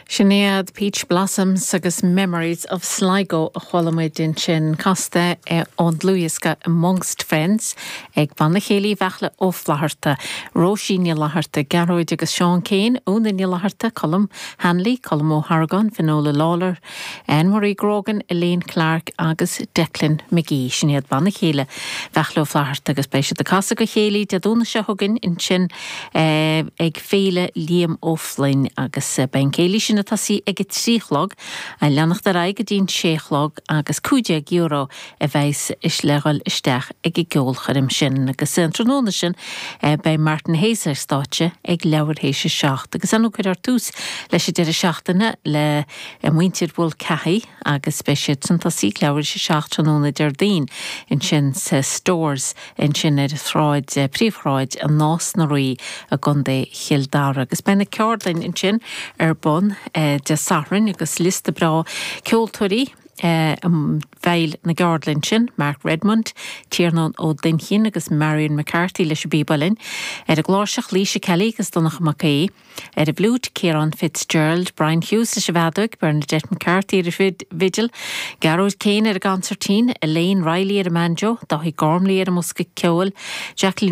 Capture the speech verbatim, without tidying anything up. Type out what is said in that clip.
Sin iad Peach Blossoms agus Memories of Sligo a chuala muid ansin casta ón dlúthdhiosca Amongst Friends ag Banna Céilí Bheachla Ó Flatharta, Róisín Ní Fhlatharta, Gearóid agus Seán Keane, Úna Ní Fhlatharta, Colm Hanley, Colm Ó hArgáin, Finola Lawler, Anne-Marie Grogan, Elaine Clark agus Declan McGee sin iad Banna Céilí Bheachla Ó Flatharta agus beidh siad ag casadh go chéilí Dé Domhnaigh seo chugainn ansin eh, ag Féile Liam Ó Floinn agus eh, beidh an céilí sin ag tosú ag a trí a chlog a leanacht ar aghaidh go dtí'n sé a chlog agus cúig déag euro a bheas is le dhul isteach ag an gceolchoirm sin agus an tráthnóna sin eh, beidh Martin Hayes ar stáitse ag leathuair théis a seacht agus an cuirfear tús leis an deireadh seachtaine le eh, muintir Mulcahy agus beidh siad ag tosú leathuair théis a seacht tráthnóna Déardaoin ansin sa Stores ansin ar shráid eh, príomhshráid an Nás na Rí i gContae Chill Dara agus beidh na ceardlanna ansin ar bun eh, Dé Sathairn agus liosta breá ceoltóirí eh, um, bhfuil na ceardlanna sin, Mark Redmond, Tiarnán Ó Duinnchinn agus Marion McCarthy leis an bpíb uilleann, ar an gcláirseach Lisa Kelly agus Donncha Mac Aodha, ar an bhfliúit Ciarán Fitzgerald, Brian Hughes leis an bhfeadóg, Bernadette McCarthy ar an bhfidil, Gearóid Kane ar an gconsairtín, Elaine Riley ar an mbanjo, Dáithí Gormley ar an mbosca ceoil, Jacqueline